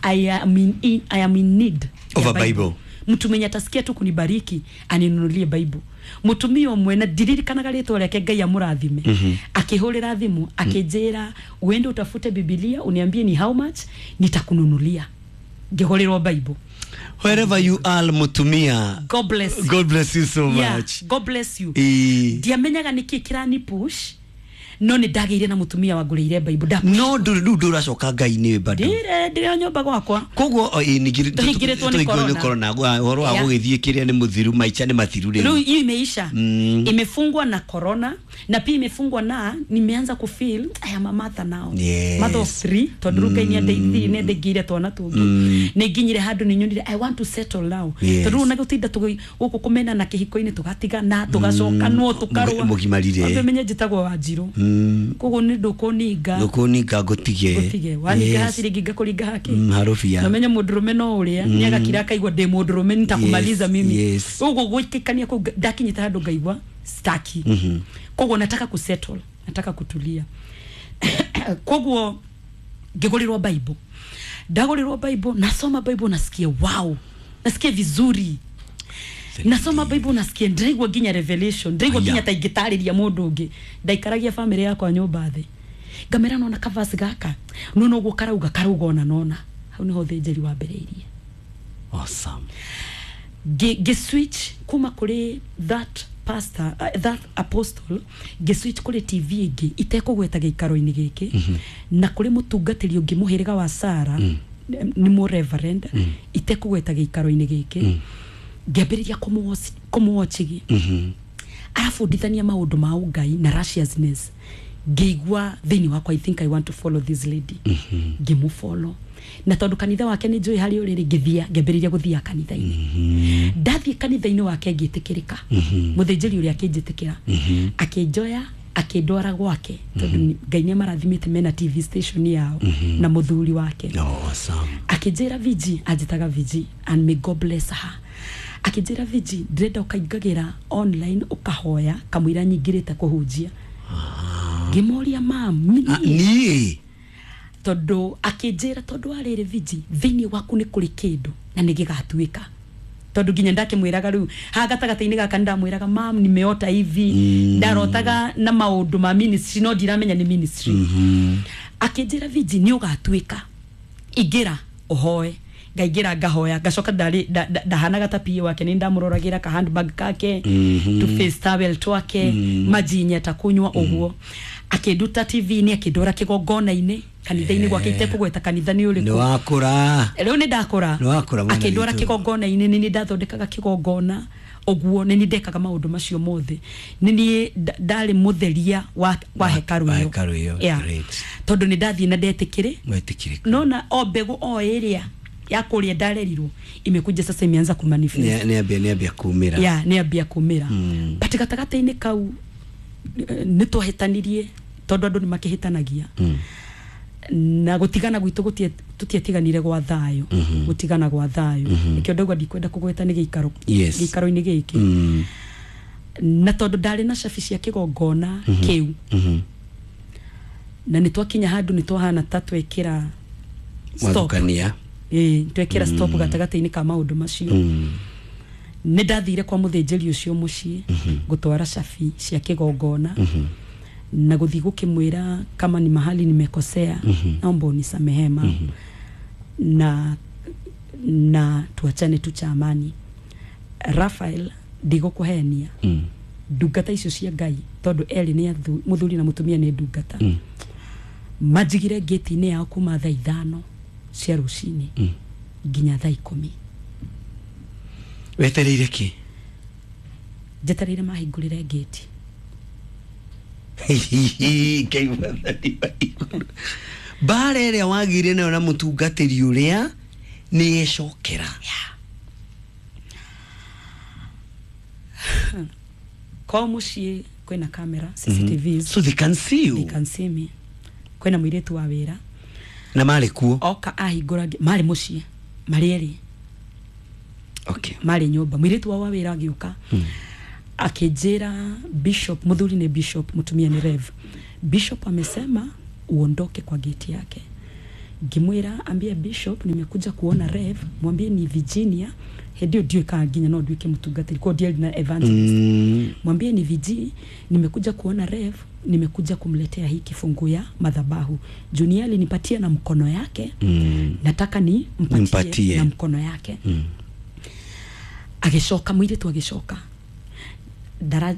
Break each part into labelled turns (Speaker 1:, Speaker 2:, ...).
Speaker 1: I am in need
Speaker 2: of
Speaker 1: ya
Speaker 2: a Bible.
Speaker 1: Mtu mwenye atasikia tu kunibariki aninunulie Bible. Mutumia ũmwe, na ndiririkanaga rĩtwa rĩake, Ngai amũrathime, akĩhũrĩra thimũ akĩnjĩra, "Uende utafute Bibilia, uniambie ni how much, nitakununulia." Ngĩgũrĩrwo Bible.
Speaker 2: Wherever you are, mutumia,
Speaker 1: God bless you.
Speaker 2: God bless you so much.
Speaker 1: God bless you.
Speaker 2: Ĩĩ.
Speaker 1: Ndiamenyaga nĩkĩ kĩrani push, no nĩ ndagĩire na mũtumia wangũrĩire Bible.
Speaker 2: No ndũ rĩu ndũracoka Ngai-inĩ bado?
Speaker 1: Ndire, ndĩrĩ o nyũmba gwakwa.
Speaker 2: Koguo o, ĩ,
Speaker 1: Tũhingĩrĩtwo nĩ
Speaker 2: tũhingĩrĩtwo nĩ
Speaker 1: corona.
Speaker 2: corona. Ũhoro wa gũgĩthiĩ kĩrĩa nĩ mũthiru, maica nĩ mathiru.
Speaker 1: Rĩu
Speaker 2: Rĩu
Speaker 1: hiyo imeisha. Imefungwa na corona, na pia imefungwa na nimeanza kufeel I am a mother now. Mother of three, tondũ rĩu Ngai nĩandeithirie, nĩandeingĩire twana tũngĩ. Nĩ nginyire handũ nĩ nyonire I want to settle now. Tondũ rĩu na gũtinda gũkũ kũmenana kĩhiko-inĩ, tũgatigana, tũgacokanwo, tũkarũa.
Speaker 2: Mũgimarire.
Speaker 1: Wambe menye njĩtagwo Wanjirũ. Koguo nĩ ndũkũninga.
Speaker 2: Ndũkũninga ngũtige.
Speaker 1: Ngũtige waninga haciringi ngakũringa haki.
Speaker 2: Harũbia.
Speaker 1: Namenye mũndũrũme no ũrĩa nĩ agakira akaigua ndĩ mũndũrũme, nitakumaliza mimi. Ũguo gwĩkĩkania kũu ndakinyĩte handũ ngaigua staki. Koguo nataka kusettle, nataka kutulia. Koguo ngĩgũrĩrwo Bible. Ndagũrĩrwo Bible, nasoma Bible, nasikia wow, nasikia vizuri. Nasoma Bible, nasikia ndĩraigua nginya revelation, ndĩraigua
Speaker 2: Aya.
Speaker 1: nginya ta ingĩtarĩria mũndũ ũngĩ. Ndaikaragia famĩlĩ yakwa nyũmba thĩ, ngamera, "Nona kavasi gaka, nona ũguo karauga, karauga ona." Nona hau niho ũthĩnjĩri wambĩrĩirie.
Speaker 2: Awesome.
Speaker 1: Ngĩ switch kuma kũrĩ that pastor, that apostle, ngĩ switch kũrĩ TV ĩngĩ itekũgweta gĩikaro-inĩ gĩkĩ, na kũrĩ mũtungatĩri ũngĩ mũhĩrĩga wa Sara, nĩ mũ reverend, itekũgweta gĩikaro-inĩ gĩkĩ. Ngĩambĩrĩria kũmũwatchigi. Arabundithania maũndũ ma ũngai na righteousness. Ngĩigua thĩinĩ wakwa, I think I want to follow this lady. Ngĩmũfollow, na tondũ kanitha wake nĩ njũĩ harĩa ũrĩ rĩ, ngĩthia, ngĩambĩrĩria gũthia kanitha-inĩ. Ndathiĩ kanitha-inĩ wake ngĩtĩkĩrĩka. Mũthĩnjĩri ũrĩa akĩnjĩtĩkĩra, akĩnjoya, akĩndwara gwake, tondũ Ngai nĩ amarathimĩte mena TV station yao na mũthuri wake.
Speaker 2: Oh, awesome.
Speaker 1: Akĩnjĩra, "Viji," anjĩtaga Viji, and may God bless her, akĩnjĩra, "Viji, ndĩrenda ũkaingagĩra online ũkahoya kamũira nyingĩrĩte kũhunjia." Ngĩmoria, "Mam,
Speaker 2: Ah,
Speaker 1: niĩ?"
Speaker 2: Niĩ?
Speaker 1: Tondũ akĩnjĩra, "Tondũ wa rĩrĩ, Viji, thĩinĩ waku nĩ kũrĩ kĩndũ na nĩ gĩgatuĩka." Tondũ nginya ndakĩmwĩraga rĩu haha gatagatĩ-inĩ gaka, nĩndamwĩraga, "Mam, nimeota hivi." Ndarotaga na maũndũ ma ministry, no ndiramenya nĩ ministry. Akĩnjĩra, "Viji, nĩ ũgatuĩka, ingĩra ũhoe." Ngaingĩra ngahoya, ngacoka ndarĩ ndahanaga ta PA wake, nĩ ndamũroragĩra ka handbag kake, tu face towel twake, maji nyeta kunywa. Ũguo akĩnduta TV-inĩ, akĩndwara kĩgongona-inĩ kanitha-inĩ gwake, itekũgweta kanitha nĩ
Speaker 2: Nĩ
Speaker 1: ũrĩkũ.
Speaker 2: wakũra.
Speaker 1: Rĩu nĩ ndakũra.
Speaker 2: Nĩ wakũra, mwana
Speaker 1: Akĩndwara
Speaker 2: witũ.
Speaker 1: kĩgongona-inĩ, nĩ niĩ ndathondekaga kĩgongona ũguo, nĩ niĩ ndekaga maũndũ macio mothe, nĩ niĩ ndarĩ mũtheria wa hekarũ
Speaker 2: Wa
Speaker 1: ĩyo.
Speaker 2: hekarũ ĩyo.
Speaker 1: Yeah.
Speaker 2: Great.
Speaker 1: Tondũ nĩ ndathiĩ na ndetĩkĩrĩ.
Speaker 2: Mwetĩkĩrĩka.
Speaker 1: Nona o mbegũ o ĩrĩa ya kũrĩa ndarerirwo imekuja sasa, imeanza kumanifest.
Speaker 2: Nĩ ambia kumĩra.
Speaker 1: Ya, nĩ ambia kumĩra. But gatagatĩ-inĩ kau nĩ twahĩtanirie, tondũ andũ nĩ makĩhĩtanagia. Na gũtigana gwitũ tũtiatiganire gwa thayũ, gũtigana gwa thayũ. Nĩkĩo ndauga ndikwenda kũgweta nĩ gĩikaro gĩikaro-inĩ gĩkĩ. Na tondũ ndarĩ na cabi cia kĩgongona kĩu, na nĩ twakinya handũ nĩ twahana ta twekĩra stop.
Speaker 2: Mwathukania.
Speaker 1: Ĩĩ, twekĩra stop gatagatĩ-inĩ ka maũndũ macio. Nĩ ndathire kwa mũthĩnjĩri ũcio mũciĩ gũtwara cabi cia kĩgongona na gũthiĩ gũkĩmwĩra, "Kama ni mahali nimekosea, naomba unisamehe, ma na tuachane tu cha amani." Rafael, ndigũkũhenia, ndungata icio cia Ngai, tondũ erĩ nĩ mũthuri na mũtumia nĩ ndungata, manjigire ngĩti-inĩ yao kuma thaa 5 cia rũcinĩ nginya thaa 10.
Speaker 2: Wetereire kĩ?
Speaker 1: Njetereire mahingũrĩre ngĩti.
Speaker 2: Ngai mwathani wa igũrũ, mbara ĩrĩa wagĩire nayo na mũtungatĩri ũrĩa nĩ yecokera.
Speaker 1: Kwao mũciĩ kwĩna kamera, CCTVs.
Speaker 2: So they can see you.
Speaker 1: They can see me. Kwĩna mũirĩtu wa wĩra.
Speaker 2: Na marĩ kuo?
Speaker 1: Oka ahingũra marĩ mũciĩ marĩ erĩ. Marĩ nyũmba. Mũirĩtu wao wa wĩra agĩũka akĩnjĩra, "Bishop," mũthuri nĩ bishop, mũtumia nĩ rev, "Bishop amesema uondoke kwa geti yake." Ngĩmwĩra, ambia bishop nimekuja kuona Rev, mwambie ni Virginia. Hĩndĩ ĩyo ndiũĩ kana nginya no nduĩke mũtungatĩri, kwa ndiarĩ na evangelist. Mwambie ni VG, nimekuja kuona Rev, nimekuja kumletea hii kifungu ya madhabahu. Junior alinipatia na mkono yake. Nataka ni mpatie,
Speaker 2: Nimpatie.
Speaker 1: na mkono yake. Agĩcoka mũirĩtu agĩcoka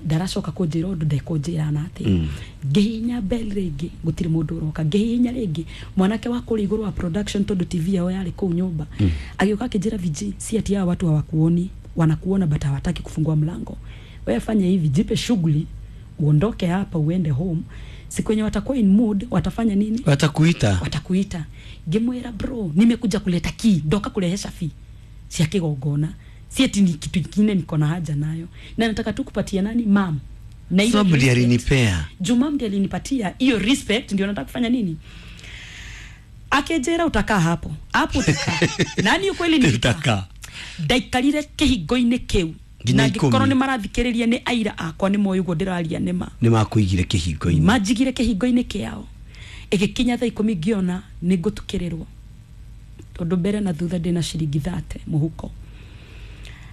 Speaker 1: ndaracoka kũnjĩra ũndũ, ndekũnjĩra na atĩ ngĩhihinya bell rĩngĩ, gũtirĩ mũndũ ũroka. Ngĩhihinya rĩngĩ, mwanake wa kũrĩa igũrũ wa production, tondũ TV yao yarĩ kũu nyũmba, agĩũka akĩnjĩra, "VG, si ati hawa watu hawakuoni, wanakuona but hawataki kufungua mlango. Wewe fanya hivi, jipe shughuli, uondoke hapa uende home. Siku yenye watakuwa in mood watafanya nini?
Speaker 2: Watakuita.
Speaker 1: Watakuita." Ngĩmwĩra, "Bro, nimekuja kuleta key, ndoka kurehe cabi cia kĩgongona, si ati ni kitu kingine niko na haja nayo, na nataka tu kupatia nani mam na ile
Speaker 2: Sababu ndiye
Speaker 1: respect."
Speaker 2: alinipea.
Speaker 1: Juu mam ndiye alinipatia hiyo respect, ndio nataka kufanya nini. Akĩnjĩra, "Utakaa hapo hapo, utakaa." Nani ukweli nilikaa.
Speaker 2: Utakaa.
Speaker 1: Ndaikarire kĩhingo-inĩ kĩu
Speaker 2: Nginya
Speaker 1: na angĩkorwo
Speaker 2: 10.
Speaker 1: nĩ marathikĩrĩria, nĩ aira akwa, nĩ moĩ ũguo ndĩraria nĩ ma.
Speaker 2: Nĩ makũigire kĩhingo-inĩ.
Speaker 1: Manjigire kĩhingo-inĩ kĩao. Ĩgĩkinya thaa 10, ngĩona nĩ ngũtukĩrĩrwo, tondũ mbere na thutha ndĩna ciringi 30 mũhuko,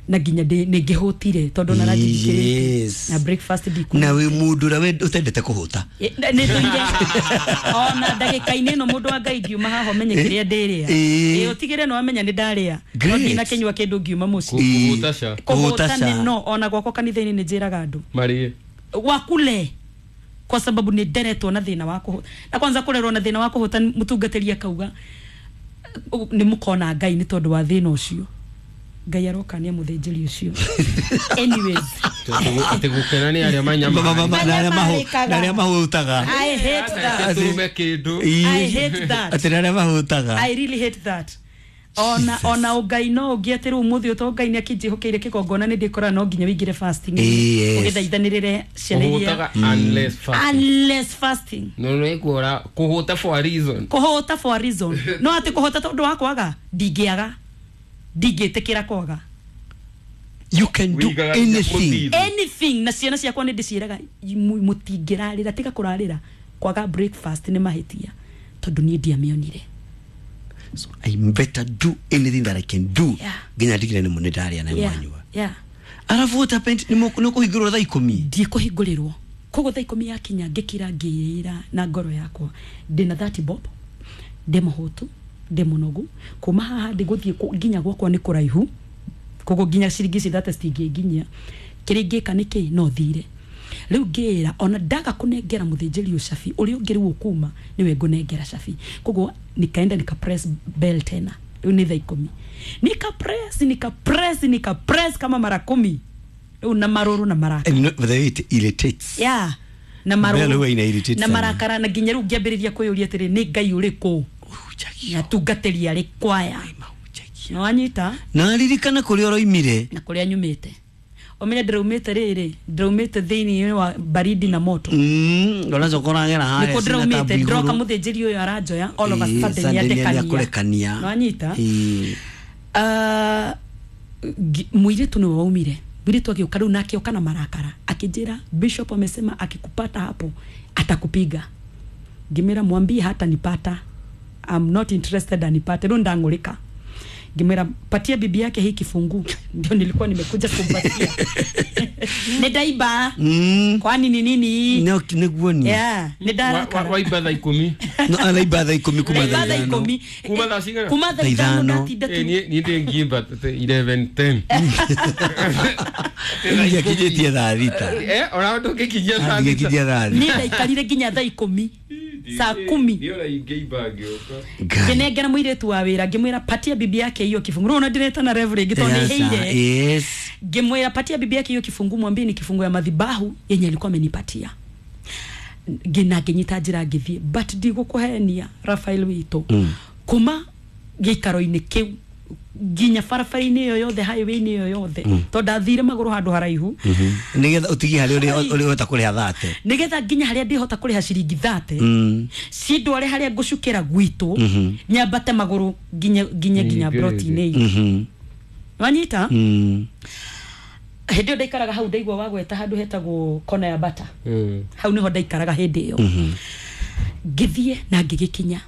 Speaker 1: na nginya nĩ ngĩhũtire tondũ na ranji na breakfast ndiku.
Speaker 2: Na wĩ mũndũ ũrĩa ũtendete kũhũta.
Speaker 1: Nĩ tũire ona ndagĩka-inĩ ĩno, mũndũ wa Ngai, ngiuma haha ũmenye kĩrĩa ndĩrĩa.
Speaker 2: Ĩĩ.
Speaker 1: Ĩ, ũtigĩre nĩ wamenya nĩ ndarĩa, no
Speaker 2: Great.
Speaker 1: ndinakĩnyua kĩndũ ngiuma mũciĩ.
Speaker 3: Kũhũta ca.
Speaker 1: Kũhũta
Speaker 2: Kũhũta
Speaker 1: nĩ
Speaker 2: ca.
Speaker 1: no ona gwakwa kanitha-inĩ nĩ njĩraga andũ
Speaker 3: Marĩe.
Speaker 1: wakule, kwa sababu nĩ nderetwo na thĩna wa kũhũta, na kwanza kũrerwo na thĩna wa kũhũta, mũtungatĩri akauga nĩ mũkona Ngai nĩ tondũ wa thĩna ũcio. Ngai aroka nĩ mũthĩnjĩri ũcio. Anyways.
Speaker 3: Atĩ gũkena nĩ arĩa
Speaker 2: Ma- ma- ma-
Speaker 3: manyama.
Speaker 2: na arĩa
Speaker 1: Manyamarĩkaga.
Speaker 2: na arĩa mahũtaga.
Speaker 1: I hate that.
Speaker 3: Tume kĩndũ.
Speaker 1: I hate that.
Speaker 2: Atĩ na arĩa mahũtaga.
Speaker 1: I really hate that. Ona ona ũngai no ũngĩ atĩ rĩu ũmũthĩ ũto Ngai nĩ akĩnjĩhokeire kĩgongona, nĩ ndĩkoraga no nginya wĩingĩre fasting
Speaker 2: Yes.
Speaker 1: ũgĩthaithanĩrĩre ciana iria.
Speaker 3: Kũhũtaga unless fasting.
Speaker 1: Unless fasting.
Speaker 3: No nĩ kuora kũhũta for a reason.
Speaker 1: Kũhũta for a reason, no atĩ kũhũta tondũ wa kwaga, ndingĩaga, ndingĩtĩkĩra kwaga.
Speaker 2: You can do
Speaker 3: Wĩigaga
Speaker 2: anything.
Speaker 3: mũthithũ.
Speaker 1: Anything. Na ciana ciakwa nĩ ndĩciĩraga, mũtingĩrarĩra, tiga kũrarĩra kwaga breakfast nĩ mahĩtia, tondũ niĩ ndiamĩonire.
Speaker 2: So I better do anything that I can do nginya ndigire nĩ nĩ ndarĩa na mwanyua. Arabu what happened? Nĩ kũhingũrwo thaa 10?
Speaker 1: Ndikũhingũrĩrwo. Koguo thaa 10 yakinya, ngĩkira ngĩĩra na ngoro yakwa, ndĩna 30 bob, ndĩ mũhũtu, ndĩ mũnogu, kuma haha ndĩgũthiĩ nginya gwakwa nĩ kũraihu, koguo nginya ciringi ici 30 citingĩnginyia. Kĩrĩa ingĩka nĩ kĩ no thire rĩu. Ngĩĩra ona ndaga kũnengera mũthĩnjĩri ũcabi ũrĩa ũngĩ rĩu ũkuma, nĩwe ngũnengera cabi. Koguo nikaenda nika press bell tena. Rĩu nĩ thaa 10, nika press, nika press, nika press kama mara 10 rĩu, na marũrũ na marakara.
Speaker 2: And the way it irritates.
Speaker 1: Yeah, na
Speaker 2: Bell
Speaker 1: marũrũ
Speaker 2: huwa ina irritate
Speaker 1: na
Speaker 2: sana.
Speaker 1: marakara, na nginya rĩu ngĩambĩrĩria kwĩyũria atĩrĩ, nĩ Ngai ũrĩkũ
Speaker 2: Mahunjagia.
Speaker 1: atungatĩri arĩ kwaya?
Speaker 2: Mahunjagia.
Speaker 1: Nĩwanyita?
Speaker 2: Na ririkana kũrĩa ũroimire.
Speaker 1: Na kũrĩa nyumĩte, ũmenye ndĩraumĩte rĩrĩ, ndĩraumĩte thĩinĩ wa baridi na moto.
Speaker 2: Ũracoka ũragera harĩa
Speaker 1: Nĩkuo
Speaker 2: cina
Speaker 1: ndĩraumĩte
Speaker 2: tabu
Speaker 1: ndĩroka
Speaker 2: igũrũ.
Speaker 1: mũthĩnjĩri ũyũ aranjoya all of a
Speaker 2: Ĩĩ,
Speaker 1: sudden
Speaker 2: sudden
Speaker 1: nĩandekania.
Speaker 2: nĩakũrekania.
Speaker 1: Nĩwanyita?
Speaker 2: Ĩĩ.
Speaker 1: Ah, mũirĩtu nĩwe waumire. Mũirĩtu agĩũka rĩu nake oka na marakara, akĩnjĩra, "Bishop amesema akikupata hapo atakupiga." Ngĩmwĩra, "Mwambie hata nipata, I'm not interested anipate." Rĩu ndang'ũrĩka, ngĩmwĩra, "Patia bibi yake hii kifungu, ndio nilikuwa nimekuja kumpatia, nĩ ndaiba." Kwani ni nini hii?
Speaker 2: No, nĩguo ni.
Speaker 1: Yeah, nĩ ndarakara.
Speaker 3: Waimba thaa 10.
Speaker 2: No, araimba thaa 10 kuma
Speaker 1: Ndaimba
Speaker 2: thaa
Speaker 1: thaa
Speaker 2: 5.
Speaker 1: 10.
Speaker 3: Kuma thaa cigana?
Speaker 1: Kuma thaa
Speaker 2: Thaa
Speaker 1: 5.
Speaker 2: 5.
Speaker 1: Ndatinda tu.
Speaker 3: Eh, niĩ ndĩ ngimba 11:10.
Speaker 2: Ngiakinyĩtie thaa 6.
Speaker 3: Eh, ona ndũngĩkinyia thaa 6.
Speaker 2: Ngiakinyia thaa 6.
Speaker 1: Niĩ ndaikarire nginya thaa 10, saa 10.
Speaker 3: Niĩ ona ingĩimba ngĩũka.
Speaker 2: Ngai.
Speaker 1: Ngĩnengera mũirĩtu wa wĩra, ngĩmwĩra, "Patia bibi yake hiyo kifungu." Rĩu ona ndĩretana rev rĩngĩ tondũ
Speaker 2: Yes,
Speaker 1: nĩhĩire.
Speaker 2: yes.
Speaker 1: Ngĩmwĩra, "Patia bibi yake hiyo kifungu, mwambie ni kifungu ya madhabahu yenye alikuwa amenipatia." Ngĩna ngĩnyita njĩra ngĩthiĩ, but ndigũkũhenia, Rafael witũ, kuma gĩikaro-inĩ kĩu nginya barabara-inĩ ĩyo yothe, highway-inĩ ĩyo yothe, tondũ ndathire magũrũ handũ haraihu.
Speaker 2: Nĩgetha ũtigie harĩa ũrĩa ũrĩa ũhota kũrĩha 30.
Speaker 1: Nigetha nginya harĩa ndĩhota kũrĩha ciringi 30, cindware harĩa ngũcukĩra gwitũ, nyambate magũrũ nginya
Speaker 3: Ningĩ
Speaker 1: broti-inĩ itũ. Wanyita? Hĩndĩ ĩyo ndaikaraga hau ndaigua wagweta handũ hetagwo kona ya bata. Hau niho ndaikaraga hĩndĩ ĩyo. Ngĩthiĩ na ngĩgĩkinya.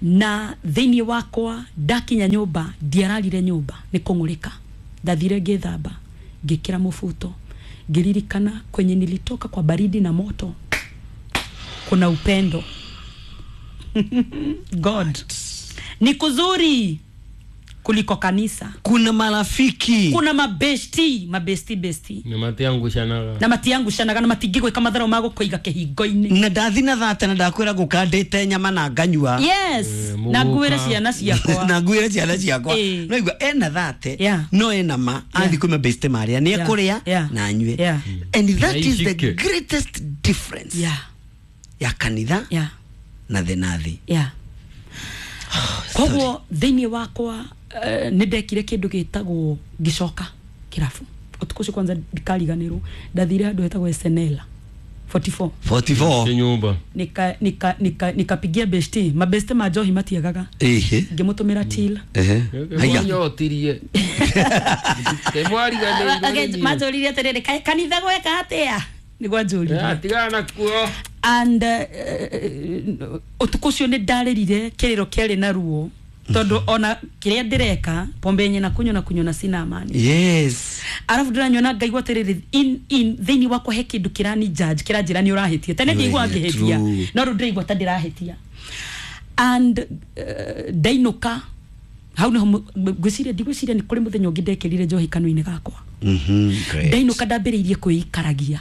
Speaker 1: Na thĩinĩ wakwa ndakinya nyũmba, ndiararire nyũmba nĩ kũng'ũrĩka. Ndathire ngĩthamba, ngĩkĩra mũbuto, ngĩririkana kwenye nilitoka kwa baridi na moto kuna upendo. God ni kuzuri kuliko kanisa.
Speaker 2: Kuna marafiki.
Speaker 1: Kuna mabesti, mabesti besti.
Speaker 3: Na matiangucanaga.
Speaker 1: Na matiangucanaga na matingĩgwĩka matharau ma gũkũiga kĩhingo-inĩ.
Speaker 2: Na ndathi na thate na ndakwĩra ngũkandĩte nyama na nganyua.
Speaker 1: Yes, na nguĩre ciana ciakwa.
Speaker 2: Na nguĩre ciana ciakwa. No igua ena thate, no ena ma, athi kwĩ mabeste marĩa nĩ ekũrĩa na anyue. And that is the greatest difference. Ya kanitha na thĩ na thĩ.
Speaker 1: Koguo thĩinĩ wakwa nĩ ndekire kĩndũ gĩtagwo ngĩcoka kĩrabu. Ũtukũ ũcio kwanza ndikariganĩrwo, ndathire handũ hetagwo SNL 44.
Speaker 2: 44.
Speaker 3: Nyumba.
Speaker 1: Nikapigia besti, mabesti ma njohi matiagaga. Ngĩmũtũmĩra till.
Speaker 2: Haya.
Speaker 3: Nyotirie.
Speaker 1: Manjũririe atĩrĩrĩ, kaĩ kanitha gweka atĩa? Nĩguo anjũririe.
Speaker 3: Tigana nakuo.
Speaker 1: And ũtukũ ũcio nĩ ndarĩrire kĩrĩro kĩarĩ na ruo, tondũ ona kĩrĩa ndĩreka pombe yenye nakunywa na kunywa na sina amani.
Speaker 2: Yes.
Speaker 1: Arafu ndĩranyua ngaigua atĩrĩrĩ, in thĩinĩ wakwa he kĩndũ kĩrani judge, kĩranjĩra nĩ ũrahĩtia. Tene ndiaigua ngĩhĩtia, no rĩu ndĩraigua ta ndĩrahĩtia. And ndainũka hau nĩho ngwĩciria, ndigwĩciria nĩ kũrĩ mũthenya ũngĩ ndekĩrire njohi kanua-inĩ gakwa. Ndainũka ndambĩrĩirie kwĩikaragia.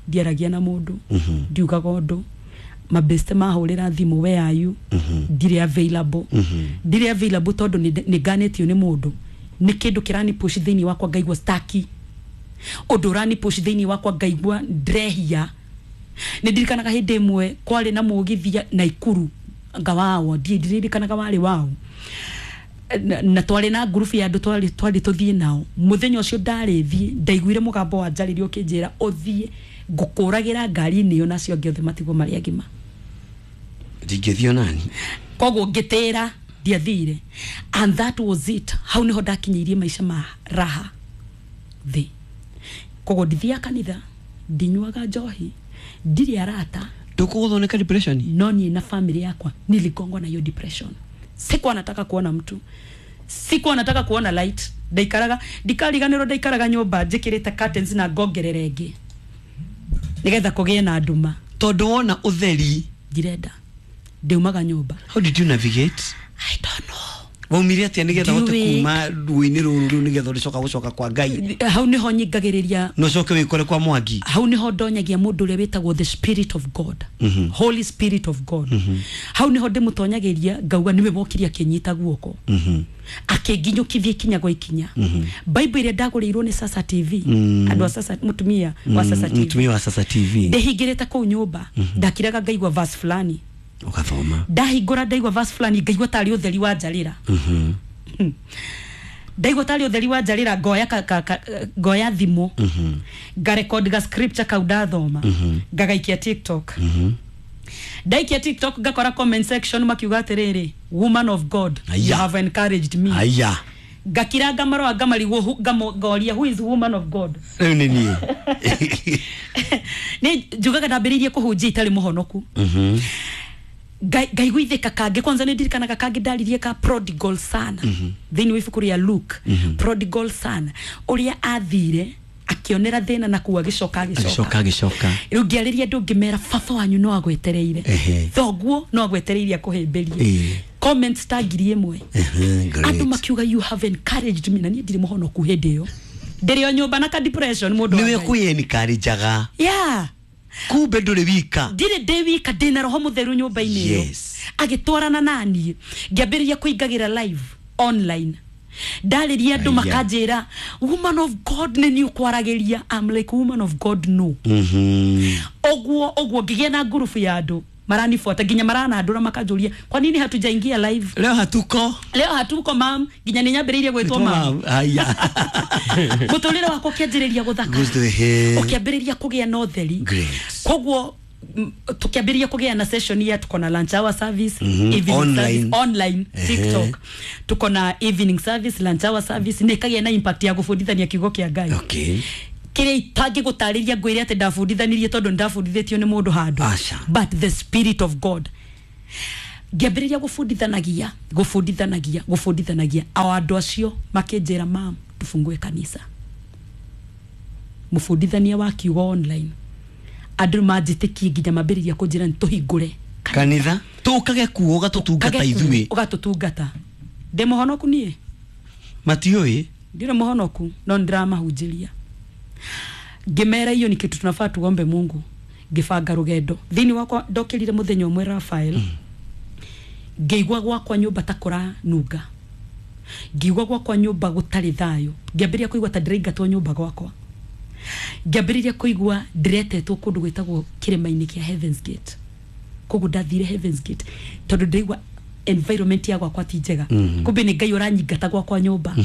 Speaker 1: Ndiaragia na mũndũ, ndiugaga ũndũ. Mabeste mahũrĩra thimũ, where are you? Ndirĩ available. Ndirĩ available tondũ nĩ nganĩtio nĩ mũndũ. Nĩ kĩndũ kĩrani push thĩinĩ wakwa ngaigua staki. Ũndũ ũrani push thĩinĩ wakwa ngaigua ndrehia. Nĩ ndirikanaga hĩndĩ ĩmwe kwarĩ na mũgithi Naikuru ngawawo, ndirikanaga warĩ wao. Na twarĩ na ngurubu ya andũ twarĩ tũthiĩ nao. Mũthenya ũcio ndarĩ thiĩ, ndaiguire mũgambo wa njarĩrio ũkĩnjĩra ũthiĩ ngũkũragĩra ngari-inĩ ĩyo nacio angĩ othe matigwo marĩ agima.
Speaker 2: Ndingĩthiĩ nani.
Speaker 1: Koguo ngĩtĩra ndiathire. And that was it. Hau nĩho ndakinyĩirie maica ma raha thĩ. Koguo ndithiaga kanitha, ndinyuaga njohi, ndirĩ arata.
Speaker 2: Ndũkũgũthwo depression?
Speaker 1: No niĩ na family yakwa niligongwa na hiyo depression. Sikuwa nataka kuona mtu, sikuwa nataka kuona light. Ndaikaraga, ndikariganĩrwo ndaikaraga nyũmba njĩkĩrĩte curtains na ngongerera ĩngĩ nĩgetha kũgĩe na nduma.
Speaker 2: Tondũ wona ũtheri
Speaker 1: ndirenda, ndiumaga nyũmba.
Speaker 2: How did you navigate?
Speaker 1: I don't know.
Speaker 2: Waumire atĩa nĩgetha ũhote kuma ruo-inĩ rũrũ rĩu nĩgetha ũrĩcoka gũcoka kwa Ngai?
Speaker 1: Hau nĩho nyingagĩrĩria.
Speaker 2: No ũcoke wĩkore kwa Mwangi.
Speaker 1: Hau nĩho ndonyagia mũndũ ũrĩa wĩtagwo the spirit of God. Holy Spirit of God. Hau nĩho ndĩmũtonyagĩria ngauga nĩwe wokire akĩnyita guoko. Akĩnginyũkithia ikinya gwa ikinya. Bible ĩrĩa ndagũrĩirwo nĩ Sasa TV. Andũ a Sasa, mũtumia wa Sasa TV.
Speaker 2: Mũtumia wa Sasa TV.
Speaker 1: Ndĩhingĩrĩte kũu nyũmba, ndakiraga ngaigua verse fulani.
Speaker 2: Ugathoma.
Speaker 1: Ndahingũra ndaigua verse fulani ngaigua tarĩ ũtheri wa njarĩra. Ndaigua tarĩ ũtheri wa njarĩra, ngoya ngoya thimũ, ngarecord ga scripture kau ndathoma, ngagaikia TikTok. Ndaikia TikTok ngakora comment section makiuga atĩrĩrĩ, woman of God, you have encouraged me.
Speaker 2: Aya.
Speaker 1: Ngakira ngamarora ngamarigwo, ngoria who is woman of God?
Speaker 2: Rĩu nĩ niĩ.
Speaker 1: Nĩ njugaga ndambĩrĩirie kũhunjia itarĩ mũhonoku. Ngaiguithĩka kangĩ kwanza nĩ ndirikanaga kangĩ ndaririe ka prodigal son. Thĩinĩ wa ibuku rĩa Luke, prodigal son ũrĩa athire akĩonera thĩna na kũu agĩcoka agĩcoka. Rĩu ngĩarĩria andũ ngĩmera baba wanyu no agwetereire, thoguo no agwetereire akũhĩmbĩrie. Comments ta 1000. Andũ makiuga you have encouraged me, na niĩ ndirĩ mũhonoku hĩndĩ ĩyo. Ndĩrĩ o nyũmba na ka depression mũndũ.
Speaker 2: Nĩwe kwĩencourageaga.
Speaker 1: Yeah.
Speaker 2: Kumbe ndũrĩ wika.
Speaker 1: Ndirĩ ndĩ wika, ndĩna roho mũtheru nyũmba-inĩ ĩyo. Agĩtwarana naniĩ, ngĩambĩrĩria kũingagĩra live online. Ndarĩria andũ makanjĩra woman of God nĩ niĩ ũkwaragĩria. I'm like woman of God no. Ũguo ũguo ngĩgĩa na ngurubu ya andũ maranifuata, nginya maranandũra makanjũria kwa nini hatujaingia live
Speaker 2: leo? Hatuko
Speaker 1: leo, hatuko mam. Nginya nĩ nyambĩrĩirie gwĩtwo mam.
Speaker 2: Haya.
Speaker 1: Mũtũrĩre wakwa ũkĩanjĩrĩria gũthaka, ũkĩambĩrĩria kũgĩa na ũtheri. Koguo tukiambĩrĩria kũgĩa na session ya tuko na lunch hour service, evening
Speaker 2: online.
Speaker 1: Service online, TikTok. Tuko na evening service, lunch hour service, nĩ kagĩa na impact ya gũbundithania kiugo kĩa Ngai. Kĩrĩa itangĩgũtarĩria ngwĩre atĩ ndabundithanirie tondũ ndabundithĩtio nĩ mũndũ handũ. But the spirit of God Ngĩambĩrĩria gũbundithanagia o andũ acio makĩnjĩra, mam, tufungue kanitha. Mũbundithania wa kiugo online, andũ manjĩtĩkie nginya mambĩrĩria kũnjĩra nĩ tũhingũre
Speaker 2: kanitha, tũkage kuo ũgatũtungata ithuĩ.
Speaker 1: Ũgatũtungata. Ndĩ mũhonoku niĩ?
Speaker 2: Matiũĩ.
Speaker 1: Ndirĩ mũhonoku, no nĩndĩramahunjĩria. Ngĩmera hiyo ni kitu tunafaa tuombe Mungu. Ngĩbanga rũgendo thĩinĩ wakwa. Ndokĩrire mũthenya ũmwe, Rafael, ngĩigua gwakwa nyũmba ta kũranunga, ngĩigua gwakwa nyũmba gũtarĩ thayũ, ngĩambĩrĩria kũigua ta ndĩraingatwo nyũmba gwakwa, ngĩambĩrĩria kũigua ndĩretetwo kũndũ gwĩtagwo kĩrĩma-inĩ kĩa Heaven's Gate. Koguo ndathire Heaven's Gate tondũ ndĩraigua environment ya gwakwa ti njega. Kumbe nĩ Ngai ũranyingata gwakwa nyũmba,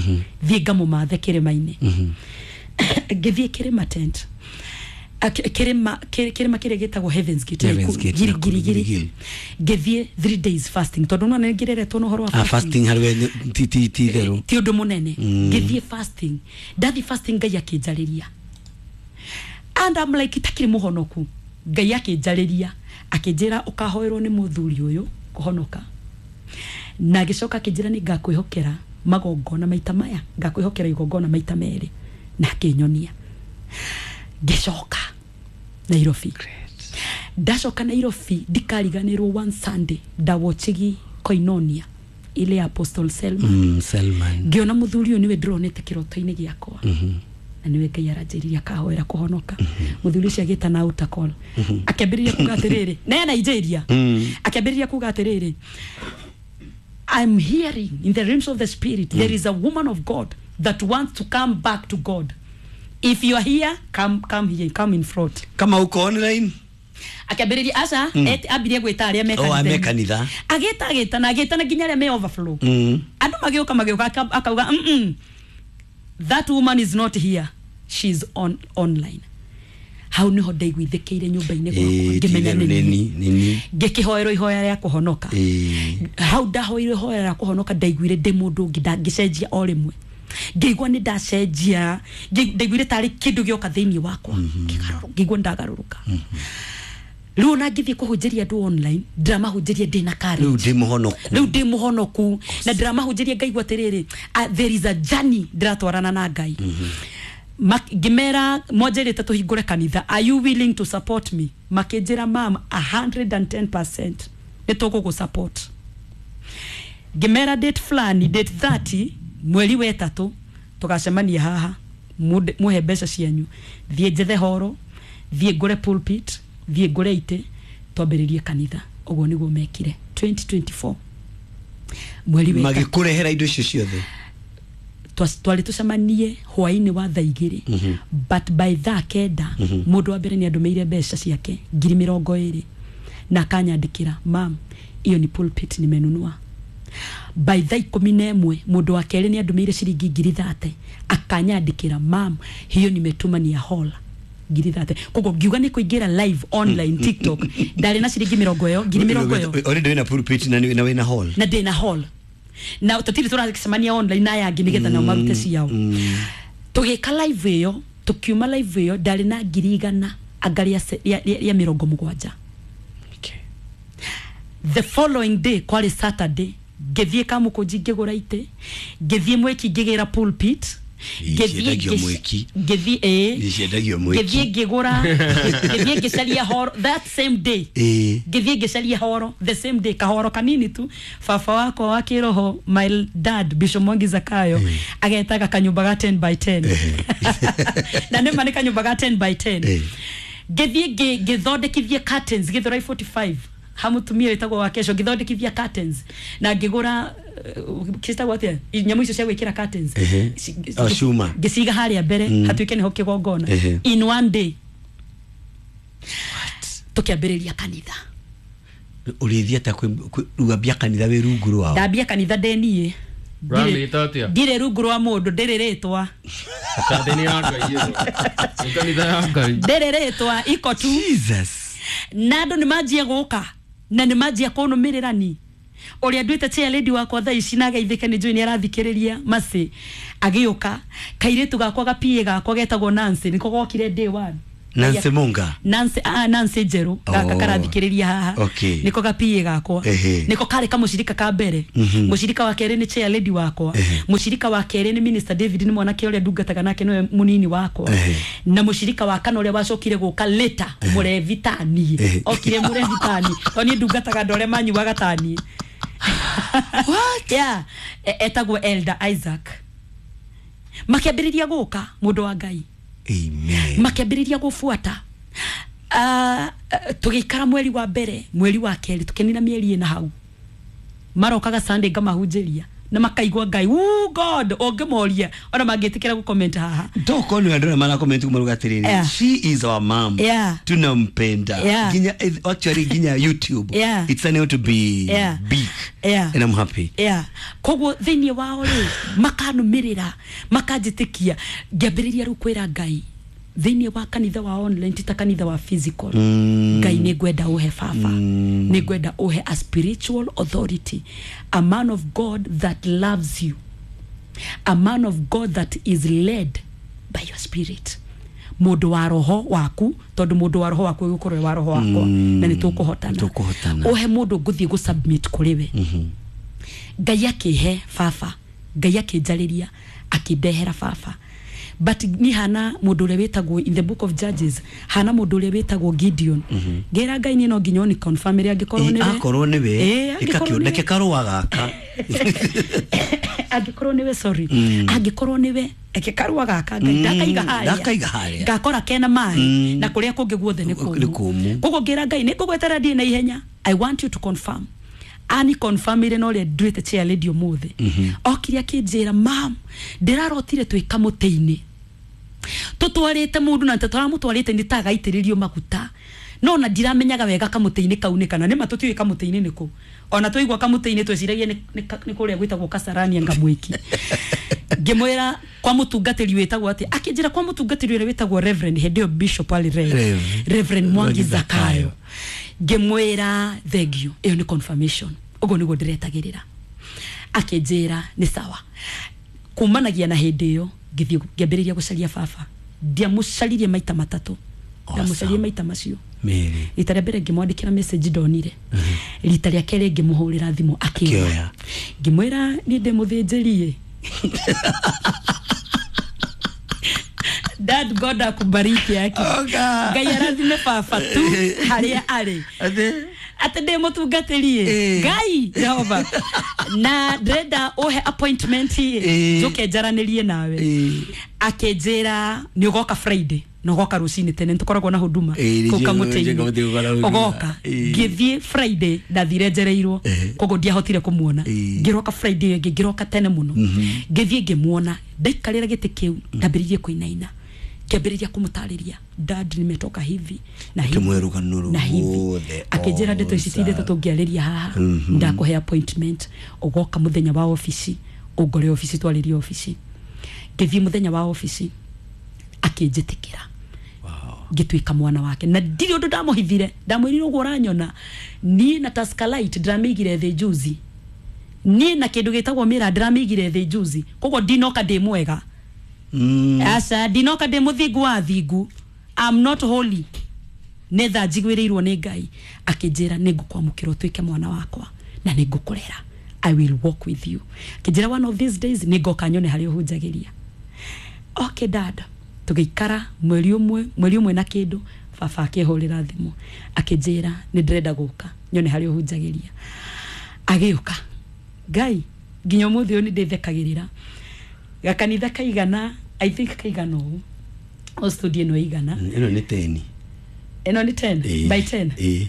Speaker 1: thiĩ ngamũmathe kĩrĩma-inĩ. Ngĩthiĩ kĩrĩma tent, kĩrĩma kĩrĩa gĩtagwo Heaven's Gate, Girigiri. Ngĩthiĩ 3 days fasting, tondũ no nĩ ngĩreretwo na ũhoro wa
Speaker 2: fasting harĩ ti therũ,
Speaker 1: ti ũndũ mũnene. Ngĩthiĩ fasting, ndathiĩ fasting Ngai akĩnjarĩria, and I'm like itakĩrĩ mũhonoku. Ngai akĩnjarĩria akĩnjĩra ũkahoerwo nĩ mũthuri ũyũ kũhonoka, na agĩcoka akĩnjĩra nĩ ngakwĩhokera magongona maita maya, ngakwĩhokera igongona maita merĩ, na akĩnyonia. Ngĩcoka Nairobi. Ndacoka Nairobi ndikariganĩrwo, one Sunday ndawochigi Koinonia ile ya Apostle Selman.
Speaker 2: Selman.
Speaker 1: Ngĩona mũthuri ũyũ nĩwe ndĩronete kĩroto-inĩ gĩakwa, na nĩwe Ngai aranjĩrire akahoera kũhonoka. Mũthuri ũcio agĩta na altar call, akĩambĩrĩria kuga atĩrĩrĩ, na Nigeria, akĩambĩrĩria kuga atĩrĩrĩ, I'm hearing in the realms of the spirit, there is a woman of God that wants to come back to God. If you are here, come here, come in front.
Speaker 2: Kama uko online.
Speaker 1: Akĩambĩrĩria aca, ambirie gwĩta arĩa me
Speaker 2: kanitha.
Speaker 1: Agĩta na agĩta na nginya arĩa me overflow. Andũ magĩũka akauga, that woman is not here, she's on online. Hau niho ndaiguithĩkĩire nyũmba-inĩ gwakwa, ngĩmenya nĩ ngĩkĩhoerwo ihoya rĩa kũhonoka. Hau ndahoeirwo ihoya rĩa kũhonoka, ndaiguire ndĩ mũndũ ũngĩ, ngĩcenjia o rĩmwe. Ngĩigua nĩ ndacenjia, ndaiguire tarĩ kĩndũ gĩoka thĩinĩ wakwa, ngĩigua ndagarũrũka. Rĩu ona ngĩthiĩ kũhunjĩria andũ online, ndĩramahunjĩria ndĩna courage.
Speaker 2: Rĩu ndĩ mũhonoku.
Speaker 1: Na ndĩramahunjĩria ngaigua atĩrĩrĩ, there is a journey ndĩratwarana na Ngai. Ngĩmera mwanjĩrĩte tũhingũre kanitha, are you willing to support me? Makĩnjĩra, mam, 110% nĩ tũgũgũ support. Ngĩmera date fulani, date 30 mweri wa 3 tũgacemania haha, muhe mbeca cianyu, thiĩ njethe horo, thiĩ ngũre pulpit, thiĩ ngũre itĩ, twambĩrĩrie kanitha. Ũguo nĩguo mekire 2024 mweri wa 3.
Speaker 2: Magĩkũrehera indo icio ciothe.
Speaker 1: Twarĩ tũcemanie hwaĩ-inĩ wa thaa 2, but by thaa 9 mũndũ wa mbere nĩ andũmĩire mbeca ciake 20,000 na akanyandĩkĩra, mam, iyo ni pulpit nimenunua. By thaa 11 mũndũ wa kerĩ nĩ andũmĩire ciringi 30,000 akanyandĩkĩra, mam, hiyo nimetuma ni ya hall 30,000. Koguo ngiuga nĩ kũingĩra live online TikTok, ndarĩ na ciringi 20 ĩyo, 20,000 ĩyo.
Speaker 2: Already wĩna pulpit na wĩna hall.
Speaker 1: Na ndĩna hall. Na tũtirĩ tũracemania online na aya angĩ nĩgetha nao marute ciao. Tũgĩka live ĩyo, tũkiuma live ĩyo ndarĩ na 100,000 anga rĩa 70. The following day kwarĩ Saturday, ngĩthiĩ Kamũkũnji ngĩgũra itĩ, ngĩthiĩ Mwĩki ngĩgĩra pulpit, ngĩthiĩ ngĩgũra, ngĩthiĩ ngĩcaria horo that same day. Ngĩthiĩ ngĩcaria horo the same day, kahoro kanini tu. Baba wakwa wa kĩroho, my dad Bishop Mwangi Zakayo, agetaga kanyũmba ga 10 by 10. Na nĩma nĩ kanyũmba ga 10 by 10. Ngĩthiĩ ngĩthondekithia curtains Githurai 45, hamutumia wĩtagwo wa kesho, ngĩthondekithia curtains na ngĩgũra kĩtagwo atĩa nyamũ icio cia gwĩkĩra curtains,
Speaker 2: cuma,
Speaker 1: ngĩciga harĩa mbere hatuĩke nĩho kĩgongona. In one day tũkĩambĩrĩria kanitha.
Speaker 2: Ũrĩthiĩ atĩa kwambia kanitha wĩ rungu rwao?
Speaker 1: Ndambia kanitha ndĩ niĩ, ndirĩ rungu rwa mũndũ, ndĩrĩ rĩtwa, ndĩrĩ rĩtwa, iko tu.
Speaker 2: Jesus.
Speaker 1: Na andũ nĩ manjia gũka na nĩ manjia kũnũmĩrĩra ni ũrĩa nduĩte chair lady wakwa thaa ici, na ageithĩke nĩ njũĩ nĩ arathikĩrĩria Mercy, agĩũka kairĩtu gakwa ga PA gakwa getagwo Nancy, nĩko gokire day one.
Speaker 2: Nancy Munga.
Speaker 1: Nancy Nancy Njeru gaka karathikiriria haha. Niko gapiye gakwa. Niko kare kamushirika ka mbere. Mushirika wa kere ni chair lady wakwa. Mushirika wa kere ni Minister David ni mwanake uria ndungataga nake niwe munini wakwa. Na mushirika wa kana uria wacokire guka later murevi tani. Okire murevi tani. To ni ndungataga andu aria manyuaga tani. What? Yeah, etagwo Elder Isaac. Makiambiriria guka mundu wa Ngai.
Speaker 2: Amen.
Speaker 1: Makiambiriria gubuata. Tugikara mweri wa mbere, mweri wa keri tukenina mieri ina hau. Marokaga Sunday ngamahunjĩria na makaigua Ngai, "Ooh God," ũngĩmoria ona mangĩtĩkĩra gũ comment haha.
Speaker 2: Ndoko ni andũ mara comment kumaruga atiriri. She is our mom. Tunampenda. Ginya actually ginya YouTube. It's an to be big. And I'm happy.
Speaker 1: Koguo thĩinĩ wao rĩ makanumirira makanjĩtĩkia ngĩambĩrĩria rĩu kwĩra Ngai thĩinĩ wa kanitha wa online ti ta kanitha wa physical. Ngai nĩ ngwenda ũhe baba, nĩ ngwenda ũhe a spiritual authority, a man of God that loves you, a man of God that is led by your spirit, mundu wa roho waku, tondu mundu wa roho waku gukorwo wa roho wakwa na nĩ tũkũhotana. Ũhe mundu ngũthiĩ gũ submit kũrĩ we. Ngai akĩhe baba, Ngai akĩnjarĩria akĩndehera baba. But ni hana mundu uria witagwo in the book of Judges, hana mundu uria witagwo Gideon. Ngira Ngai ni no nginya ni confirm ria angikorwo ni we,
Speaker 2: akorwo ni we ikakioneke karua gaka,
Speaker 1: angikorwo ni we, sorry, angikorwo ni we eke karua gaka Ngai ndakaiga haria,
Speaker 2: ndakaiga haria
Speaker 1: ngakora kena mai na kuria kungi guothe ni kumu. Koguo ngira Ngai ni ngugwetera ndie na ihenya, I want you to confirm. Ani confirmire no ria nduite chair lady umuthi. Okire akinjira, mam, ndirarotire twi kamutĩ-inĩ tutwarite mundu na tutaramutwarite ni tagaitiririo maguta no na ndiramenyaga wega kamutĩ-inĩ kau nĩ kana nĩ ma tutiũĩ kamutĩ-inĩ nĩkũ, ona twaigua kamutĩ-inĩ tweciragia nĩ kũrĩa gwĩtagwo Kasarani ngamwiki. Ngĩmwĩra kwa mũtungatĩri wĩtagwo atĩ, akĩnjĩra kwa mũtungatĩri ũrĩa wĩtagwo Reverend hĩndĩ ĩyo Bishop arĩ Reverend Mwangi Zakayo. Ngĩmwĩra thank you, ĩyo nĩ confirmation, ũguo nĩguo ndĩretagĩrĩra. Akĩnjĩra nĩ sawa. Kumanagia na hĩndĩ ĩyo ngĩthiĩ ngĩambĩrĩria gũcaria baba. Ndiamũcaririe maita matatũ, ndiamũcaririe maita macio. Rita rĩa mbere ngĩmwandĩkĩra message ndonire. Rita rĩa kerĩ ngĩmũhũrĩra thimũ akĩoya. Ngĩmwĩra niĩ ndĩ mũthĩnjĩri. Dad, God akubariki yake. Ngai arathime baba tu harĩa arĩ. Ate ndĩ mũtungatĩri. Ngai Jehova. Na ndĩrenda ũhe appointment njoke njaranĩrie nawe. Akĩnjĩra nĩ ũgoka Friday na ũgoka rũcinĩ tene nĩtũkoragwo na huduma kũu kamũtĩ-inĩ. Ũgoka. Ngĩthiĩ Friday ndathire njereirwo koguo ndiahotire kũmuona. Ngĩroka Friday ĩngĩ ngĩroka tene mũno. Ngĩthiĩ ngĩmuona ndaikarĩra gĩtĩ kĩu ndambĩrĩirie kũinaina. Ngĩambĩrĩria kũmũtarĩria, dad nimetoka hivi na hivi na hivi. Akĩnjĩra ndeto ici ti ndeto tũngĩarĩria haha, ndakũhe appointment ũgoka mũthenya wa ofici ũngore ofici twarĩrie ofici. Ngĩthiĩ mũthenya wa ofici akĩnjĩtĩkĩra. Ngĩtuĩka mwana wake na ndirĩ ũndũ ndamũhithire, ndamwĩrire ũguo ũranyona niĩ na Tusker Light ndĩramĩigire thĩ juzi, niĩ na kĩndũ gĩtagwo mĩra ndĩramĩigire thĩ juzi, koguo ndinoka ndĩ mwega. Aca ndinoka ndĩ mũthingu wa thingu, I'm not holy, nĩ tha njiguĩrĩirwo nĩ Ngai. Akĩnjĩra nĩ ngũkwamũkĩra ũtuĩke mwana wakwa na nĩ ngũkũrera, I will walk with you. Akĩnjĩra one of these days nĩ ngoka nyone harĩa ũhunjagĩria. Okay dad, tũgĩikara mweri ũmwe na kĩndũ, baba akĩhũrĩra thimũ akĩnjĩra nĩ ndĩrenda gũka nyone harĩa ũhunjagĩria. Agĩũka. Ngai nginya ũmũthĩ ũyũ nĩ ndĩthekagĩrĩra. Gakanitha kaigana, I think kaigana ũũ, o studio ĩno igana.
Speaker 2: Ĩno nĩ 10.
Speaker 1: Ĩno nĩ 10 by 10.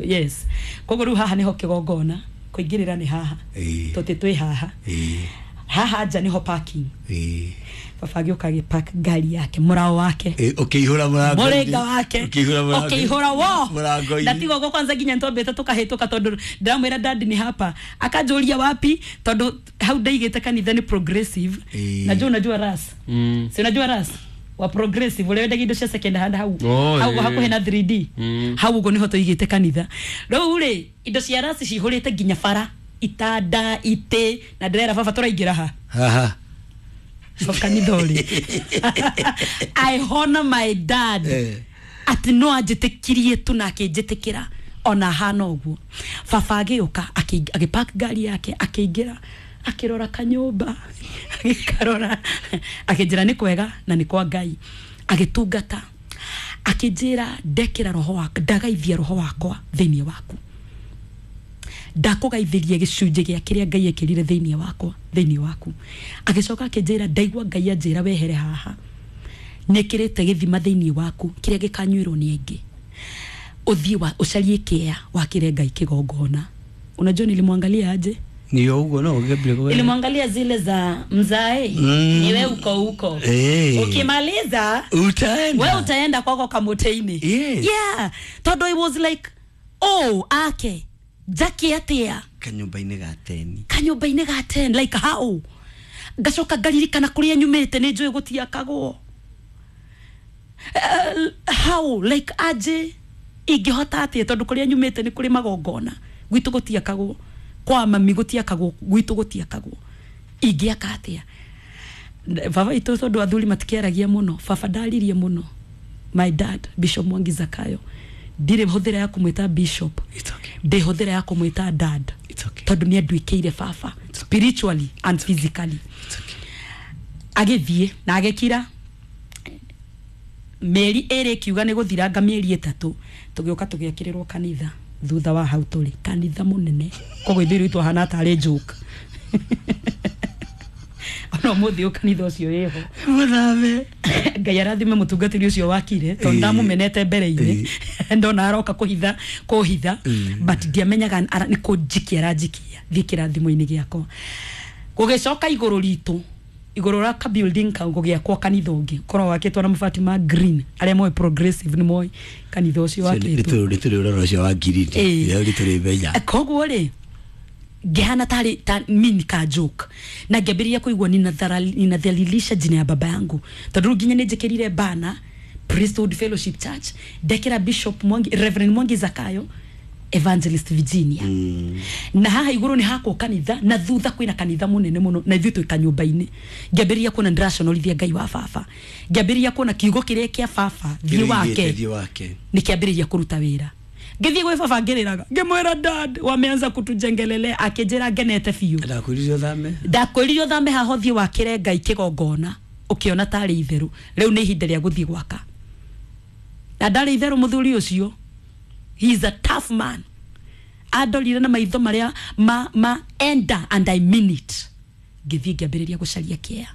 Speaker 1: Yes. Koguo rĩu haha nĩho kĩgongona, kũingĩrĩra nĩ haha. Tũtĩ twĩ haha. Haha nja nĩho parking. Baba agĩũka agĩpark ngari yake, mũrao wake,
Speaker 2: ũkĩihũra mũrango,
Speaker 1: mũrĩnga wake ũkĩihũra wo
Speaker 2: mũrango-inĩ.
Speaker 1: Na tiga ũguo kwanza nginya nĩtwambĩte tũkahĩtũka tondũ ndĩramwĩra dad ni hapa, akanjũria wapi, tondũ hau ndaigĩte kanitha nĩ progressive. Na unajua ras, si unajua ras wa progressive ũrĩa wendagia indo cia second hand hau hau hakuhĩ na 3D hau ũguo nĩho tũigĩte kanitha. Rĩu rĩ indo cia ras cihũrĩte nginya bara, itanda, itĩ, na ndĩrera baba tũraingĩra ha
Speaker 2: haha
Speaker 1: kanitha ũrĩ. I honor my dad. Atĩ no anjĩtĩkirie tu na akĩnjĩtĩkĩra ona hana ũguo. Baba agĩũka agĩpark ngari yake akĩingĩra akĩrora kanyũmba agĩkarora akĩnjĩra nĩ kwega na nĩ kwa Ngai. Agĩtungata akĩnjĩra ndekĩra roho wakwa ndagaithia roho wakwa thĩinĩ waku, ndakũgaithĩria gĩcunjĩ gĩa kĩrĩa Ngai ekĩrire thĩinĩ wakwa thĩinĩ waku. Agĩcoka akĩnjĩra ndaigua Ngai anjĩra wehere haha nĩkĩrĩte gĩthima thĩinĩ waku kĩrĩa gĩkanyuĩrwo nĩ aingĩ, ũthiĩ wa ũcarie kĩa wakĩre Ngai kĩgongona. Unajua nilimwangalia aje?
Speaker 2: Ni ugo no Gabriel.
Speaker 1: Nilimwangalia zile za mzae niwe uko huko.
Speaker 2: Hey.
Speaker 1: Ukimaliza
Speaker 2: utaenda.
Speaker 1: Wewe utaenda kwako kamuteini.
Speaker 2: Yes.
Speaker 1: Yeah. Todo it was like oh ake Jackie atia
Speaker 2: kanyumba-inĩ ga 10.
Speaker 1: Kanyumba-inĩ ga 10 like how? Ngacoka ngaririkana kuria nyumĩte nĩ njũĩ gũtiakagwo. How like aje ingĩhota atĩa tondũ kuria nyumĩte nĩ kũrĩ magongona gwitũ gũtiakagwo kwa mami gũtiakagwo gwitũ gũtiakagwo ingĩaka atĩa? Baba itũ tondũ athuri matikĩaragia mũno, baba ndaririe mũno. My dad Bishop Mwangi Zakayo ndirĩ hũthĩra ya kũmwĩta bishop.
Speaker 2: It's okay.
Speaker 1: Ndĩ hũthĩra ya kũmwĩta dad.
Speaker 2: It's okay.
Speaker 1: Tondũ nĩ anduĩkĩire baba spiritually and physically.
Speaker 2: It's okay.
Speaker 1: Agĩthiĩ na agĩkira mĩeri ĩrĩ kiuga nĩ gũthiranga mĩeri ĩtatũ tũgĩũka tũgĩakĩrĩrwo kanitha thutha wa hau tũrĩ kanitha mũnene koguo ithuĩ rĩu twahana tarĩ joke. Ona ũmũthĩ ũyũ kanitha ũcio wĩho
Speaker 2: mũthame.
Speaker 1: Ngai arathime mũtungatĩri ũcio wakire tondũ ndamũmenete mbere-inĩ ndona aroka kũhitha but ndiamenyaga nĩ kũnjikia aranjikia thiĩ kĩrathimo-inĩ gĩakwa. Gũgĩcoka igũrũ ritũ igũrũ ra ka building kau gũgĩakwo kanitha ũngĩ korwo wakĩtwo na mabati ma green arĩa moĩ progressive nĩ moĩ kanitha ũcio wakĩtwo
Speaker 2: nĩ tũrĩ ũrora ũcio wa green nĩ tũrĩ menya.
Speaker 1: Koguo rĩ ngĩhana tarĩ ta mini ka joke na ngĩambĩrĩria kũigua ninadhalilisha jina ya baba yangu tondũ rĩu nginya nĩ njĩkĩrire bana Priesthood Fellowship Church ndekĩra Bishop Mwangi Reverend Mwangi Zakayo Evangelist Virginia. Na haha igũrũ nĩ hakwo kanitha na thutha kwĩna kanitha mũnene mũno na ithuĩ twĩ kanyũmba-inĩ. Ngĩambĩrĩria kuona ndĩraconorithia Ngai wa baba, ngĩambĩrĩria kuona kiugo kĩrĩa kĩa baba thiĩ wake nĩ kĩambĩrĩria kũruta wĩra. Ngĩthiĩ gwĩ baba ngĩrĩraga ngĩmwĩra dad wameanza kutujengelelea akĩnjĩra ngenete biũ. Ndakwĩrire ũthame haha ũthiĩ wakĩre Ngai kĩgongona ũkĩona tarĩ itherũ rĩu nĩ ihinda rĩa gũthiĩ gwaka. Na ndarĩ itherũ mũthuri ũcio. He is a tough man. Andorire na maitho maria ma enda and I mean it. Ngĩthiĩ ngĩambĩrĩria gũcaria kĩa.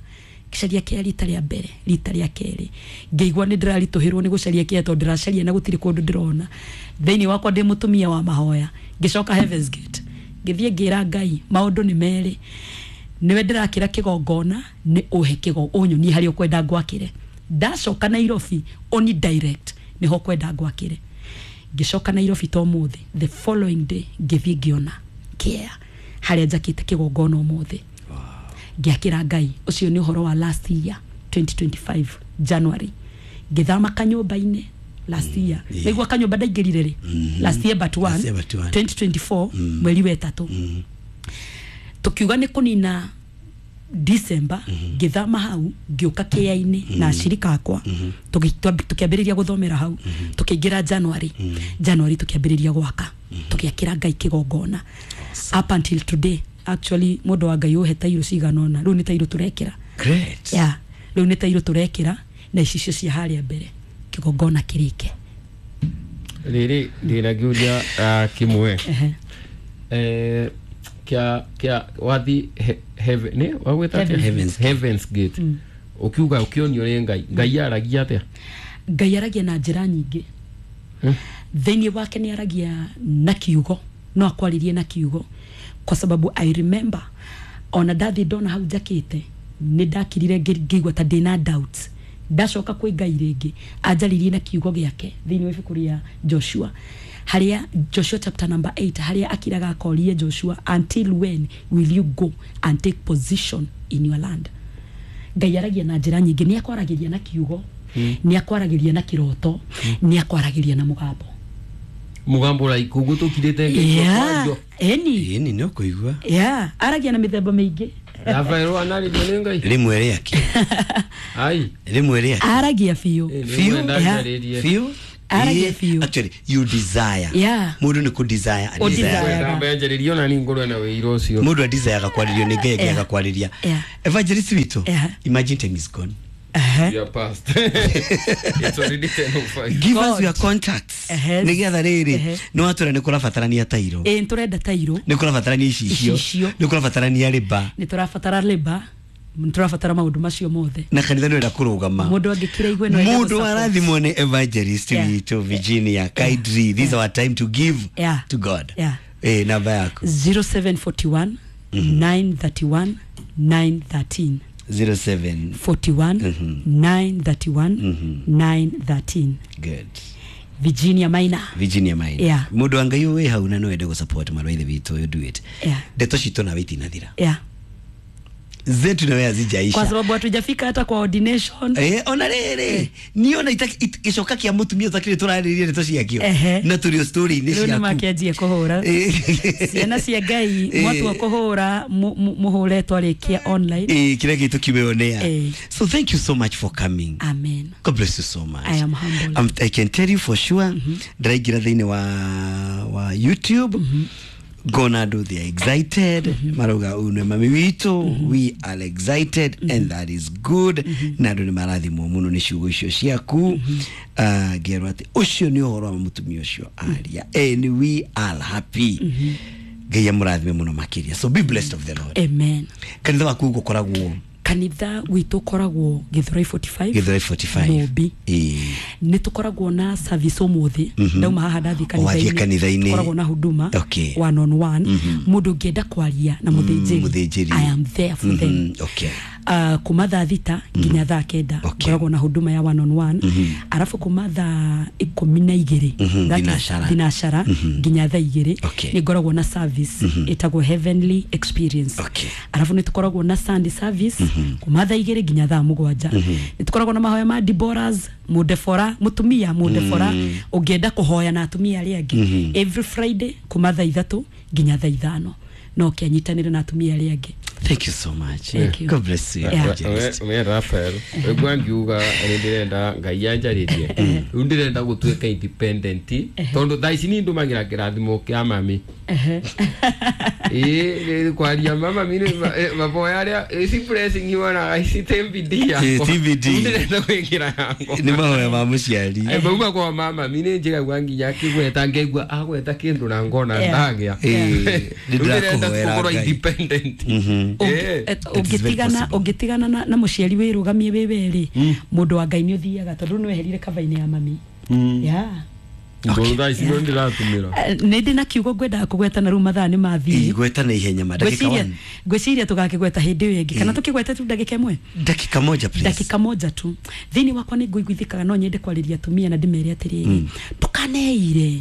Speaker 1: Ngĩcaria kĩa rita rĩa mbere, rita rĩa kerĩ. Ngĩigua nĩ ndĩraritũhĩrwo nĩ gũcaria kĩa tondũ ndĩracaria na gũtirĩ kũndũ ndĩrona. Thĩinĩ wakwa ndĩ mũtumia wa mahoya. Ngĩcoka Heaven's Gate. Ngĩthiĩ ngĩra Ngai maũndũ nĩ merĩ. Nĩwe ndĩrakĩra kĩgongona nĩ ũhe ũnyonie harĩa ũkwenda ngwakĩre. Ndacoka Nairobi oni direct nĩho kwenda ngwakĩre. Ngĩcoka Nairobi to mũthĩ the following day ngĩthiĩ ngĩona kĩa harĩa njakĩte kĩgongona ũmũthĩ. Ngĩakĩra Ngai ũcio nĩ ũhoro wa last year 2025 January. Ngĩthama kanyũmba-inĩ last year. Nĩguo kanyũmba ndaingĩrire rĩ last year but one 2024 mweri wa ĩtatũ. Tũkiuga nĩ kũnina December ngĩthama hau ngĩũka kĩa-inĩ na ashirika akwa tũkĩambĩrĩria gũthomera hau tũkĩingĩra January. January tũkĩambĩrĩria gwaka tũgĩakĩra Ngai kĩgongona up until today. Actually mũndũ wa Ngai ũhe tairũ cigana ũna rĩu nĩ tairũ tũrekĩra.
Speaker 2: Great.
Speaker 1: Yeah, rĩu nĩ tairũ tũrekĩra na icicio cia harĩa mbere kĩgongona kĩrĩke.
Speaker 3: Rĩrĩ ndĩna kĩũria kĩmwe kia wathi heaven ne wagweta Heaven's Gate ukiuga ukionio ri Ngai Ngai aragia atia?
Speaker 1: Ngai aragia na njĩra nyingĩ. Thĩinĩ wake nĩ aragia na kiugo no akwaririe na kiugo kwa sababu I remember ona ndathi ndona hau njakĩte nĩ ndakirire ngĩigua ta ndĩna doubts. Ndacoka kwĩ Ngai rĩngĩ anjaririe na kiugo gĩake thĩinĩ wa ibuku rĩa Joshua haria Joshua chapter number 8 haria akiraga akorie Joshua until when will you go and take position in your land. Ngai aragia na njĩra nyingĩ nĩ akwaragiria na kiugo nĩ akwaragiria na kĩroto nĩ akwaragiria na mũgambo.
Speaker 3: Mũgambo like uguo tũkirĩte Ngai
Speaker 1: eni
Speaker 2: eni no kũigua.
Speaker 1: Yeah, aragia na mĩthemba mĩingĩ.
Speaker 3: Rafael anarĩrio nĩ Ngai
Speaker 2: rĩmwe rĩake.
Speaker 3: Ai
Speaker 2: rĩmwe rĩake
Speaker 1: aragia biũ
Speaker 2: biũ biũ
Speaker 1: Aragia biũ.
Speaker 2: Actually you desire.
Speaker 1: Yeah.
Speaker 2: Mũndũ nĩ kũ desire a
Speaker 1: Ũ
Speaker 2: desire.
Speaker 1: desire.
Speaker 3: Mbenjĩrĩrio na ningũrwe na wĩira ũcio.
Speaker 2: Mũndũ a desire kwarĩrio nĩ Ngai
Speaker 1: Yeah.
Speaker 2: angĩaga kwarĩria.
Speaker 1: Yeah.
Speaker 2: Evangelist witũ,
Speaker 1: Yeah.
Speaker 2: imagine time is gone.
Speaker 1: Ehe.
Speaker 3: You are past. It's already 10:05.
Speaker 2: Give us
Speaker 1: God.
Speaker 2: your contacts.
Speaker 1: Ehe.
Speaker 2: Nĩgetha rĩrĩ
Speaker 1: Ehe.
Speaker 2: nĩ watwĩra nĩ kũrabatarania tairo,
Speaker 1: Ĩĩ, nĩ tũrenda tairo,
Speaker 2: nĩ kũrabatarania icicio,
Speaker 1: Icicio.
Speaker 2: nĩ kũrabatarania rĩba,
Speaker 1: nĩ tũrabatara leba, nĩ tũrabatara maũndũ macio mothe.
Speaker 2: Na kanitha nĩ ũrenda kũrũgama.
Speaker 1: Mũndũ angĩkira igue no ende
Speaker 2: Mũndũ
Speaker 1: gũ-support.
Speaker 2: arathimwo nĩ evangelist
Speaker 1: Yeah.
Speaker 2: witũ Virginia kindly, this is our time to give
Speaker 1: Yeah.
Speaker 2: to God.
Speaker 1: Yeah.
Speaker 2: Eh, namba yaku?
Speaker 1: 0741 931 913.
Speaker 2: 07
Speaker 1: 41 931 913.
Speaker 2: Good.
Speaker 1: Virginia Maina.
Speaker 2: Virginia Maina.
Speaker 1: Yeah.
Speaker 2: Mũndũ wa Ngai wĩ hau na no wende gũ-support mwarĩ wa ithe witũ ũyũ, do it.
Speaker 1: Yeah.
Speaker 2: Ndeto citũ nawe itinathira,
Speaker 1: Yeah.
Speaker 2: zetu nawe hazijaisha.
Speaker 1: Kwa sababu hatujafika hata kwa ordination.
Speaker 2: Eh, ona rĩrĩ niĩ ona gĩcoka kĩa mũtumia ũtakĩrĩ tũrarĩrĩria ndeto ciakĩo
Speaker 1: Ehe.
Speaker 2: na tũrĩ o story-inĩ
Speaker 1: Rĩu nĩ
Speaker 2: ciaku.
Speaker 1: makĩanjie kũhũra.
Speaker 2: Eh.
Speaker 1: Ciana cia Ngai,
Speaker 2: Eh.
Speaker 1: mwatua kũhũra mũhũre twarĩkia online.
Speaker 2: Eh, kĩrĩa gĩtũ kiumeonea.
Speaker 1: Eh.
Speaker 2: So thank you so much for coming.
Speaker 1: Amen.
Speaker 2: God bless you so much.
Speaker 1: I am humbled.
Speaker 2: I can tell you for sure, ndĩraingĩra thĩinĩ wa YouTube, ngona andũ they are excited, marauga ũyũ nĩ mami witũ, we are excited and that is good, na andũ nĩ marathimwo mũno nĩ ciugo icio ciaku. Ah, ngerwo atĩ ũcio nĩ ũhoro wa mũtumia ũcio aria and we are happy. Ngai amũrathime mũno makĩria. So be blessed of the Lord.
Speaker 1: Amen.
Speaker 2: Kanitha waku gũkoragwo?
Speaker 1: Kanitha witũ ũkoragwo Gĩthũrai 45.
Speaker 2: Gĩthũrai 45.
Speaker 1: Mũmbi.
Speaker 2: Ĩĩ.
Speaker 1: Nĩ tũkoragwo na service ũmũthĩ, ndauma haha ndathiĩ
Speaker 2: Wathiĩ kanitha-inĩ.
Speaker 1: Tũkoragwo na huduma
Speaker 2: Okay.
Speaker 1: one on one, mũndũ ũngĩenda kwaria na mũthĩnjĩri,
Speaker 2: Mũthĩnjĩri.
Speaker 1: I am there for them.
Speaker 2: Okay.
Speaker 1: Kuma thaa 6 nginya thaa 9
Speaker 2: Okay.
Speaker 1: ngoragwo na huduma ya one on one, arabu kuma thaa 12, that is
Speaker 2: Thinacara.
Speaker 1: thinacara nginya thaa 2,
Speaker 2: Okay.
Speaker 1: nĩ ngoragwo na service ĩtagwo Heavenly Experience.
Speaker 2: Okay.
Speaker 1: Arabu nĩ tũkoragwo na Sunday service kuma thaa 2 nginya thaa 7. Nĩ tũkoragwo na mahoya ma Deborahs, mũndebora, mũtumia mũndebora ũngĩenda kũhoya na atumia arĩa angĩ, every Friday kuma thaa 3 nginya thaa 5, no kĩanyitanĩre na atumia arĩa angĩ.
Speaker 2: Thank you so much.
Speaker 1: Thank you.
Speaker 2: God bless you.
Speaker 1: Yeah.
Speaker 2: Evangelist.
Speaker 3: We Rafael, wegua ngiuga nĩ ndĩrenda Ngai anjarĩrie, rĩu ndĩrenda gũtuĩka independent tondũ thaa ici nĩ ndũmagĩra kĩrathimo kĩa mami. Ĩĩ, kwaria mama mi maboya arĩa ici blessing iwonaga ici ti bidii yakwa.
Speaker 2: Ĩ, ti bidii.
Speaker 3: Rĩu ndĩrenda gwĩkĩra yakwa.
Speaker 2: Nĩ mahoya ma mũciari.
Speaker 3: Eh, mauma kwa mama mi nĩ njigagua nginya akĩgweta ngaigua agweta kĩndũ na ngona
Speaker 1: Yeah.
Speaker 3: ndagĩa.
Speaker 2: Ĩ, nĩ
Speaker 3: Rĩu ndĩrenda
Speaker 2: ndĩrakũhoera
Speaker 3: gũkorwo
Speaker 2: Ngai.
Speaker 3: independent. Ĩ.
Speaker 2: It is very
Speaker 1: Ũngĩtigana
Speaker 2: possible.
Speaker 1: ũngĩtigana na mũciari wĩrũgamie wĩ werĩ, mũndũ wa Ngai nĩ ũthiaga tondũ nĩ weherire kava-inĩ ya mami. Yeah.
Speaker 3: Tondũ thaa ici no ndĩratũmĩra.
Speaker 1: Eh, nĩ ndĩ na kiugo ngwendaga kũgweta na rĩu mathaa nĩ mathiĩ.
Speaker 2: Gweta na ihenya ma ndagĩka
Speaker 1: Ngwĩciria
Speaker 2: one.
Speaker 1: ngwĩciria tũgakĩgweta hĩndĩ ĩyo ĩngĩ, kana tũkĩgwete tu ndagĩka ĩmwe?
Speaker 2: Dakika moja, please.
Speaker 1: Ndagĩka moja tu. Thĩinĩ wakwa nĩ ngũiguithĩkaga, no nyende kwarĩria atumia na ndĩmere atĩrĩrĩ, ndũkaneire,